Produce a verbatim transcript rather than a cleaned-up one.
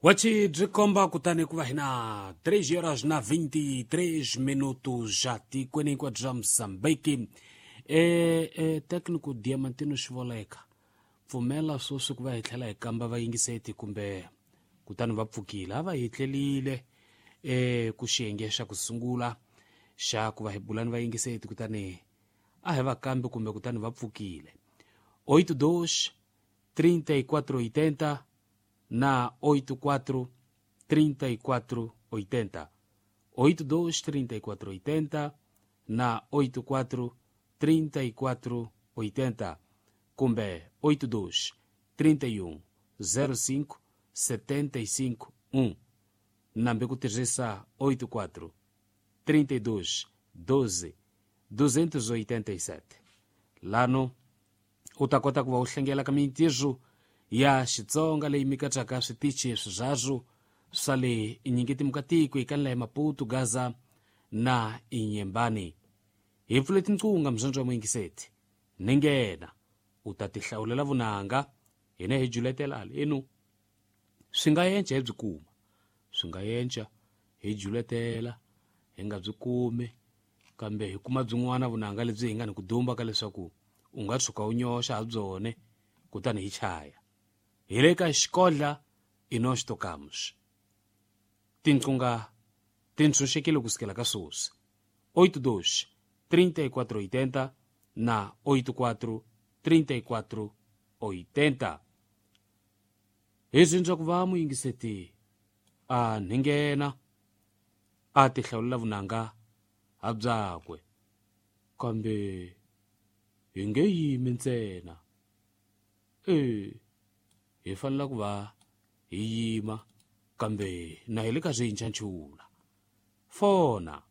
Wachi byi komba kutani ku va hina três horas na vinte e três minutos já tikweni hinkwabyo bya Mozambique. E, e técnico Diamantino Xivoleka, pfumela sweswi ku va hi tlhela hi kamba vayingiseti kumbe kutani va pfukile a va hi tlelile e ku xiyenge xa ku sungula xa ku va hi bulani vayingiseti kutani a hi va kambi kumbe kutani va pfukile. Oito dois trinta e quatro oitenta na oito quatro trinta e quatro oitenta, oito dois trinta e quatro oitenta na oito quatro trinta e quatro oitenta kumbe oito dois trinta e um zero cinco setenta e cinco um, nambe ku tirhisa oito quatro trinta e dois doze duzentos e oitenta e sete. Lano u ta kota ku va u hlengela ka mintirho ya Xitsonga leyi mi katsaka switichi swirharu swa le Inyingi-Timukatiko eka ya Maputo, Gaza na Inyembani. Hi pfule tinqunga mzonzo wa muyingiseti ni nghena u ta tihlawulela vunanga hina hi juletela halenu. Swi nga yenca hi byi kuma, swi nga yenca hi juletela hi nga byi kumi, kambe hi kuma byin'wana vunanga lebyi hi nga ni ku dumba ka leswaku u nga tshuka u nyoxa ha byone kutani hi chaya. Hi le ka xikodla i nós tocamos. Tinqunga ti ntshunxekile ku sukela ka sweswi. Oito dois trinta e quatro oitenta na oito quatro trinta e quatro oitenta. Hi dzindza ku va muyingiseti a ninghena a tihlawulela vunanga ha byakwe, kambe hi nge yimi ntsena. E hi fanele ku va hi yima kambe na hi le ka swintshantshula. Fona.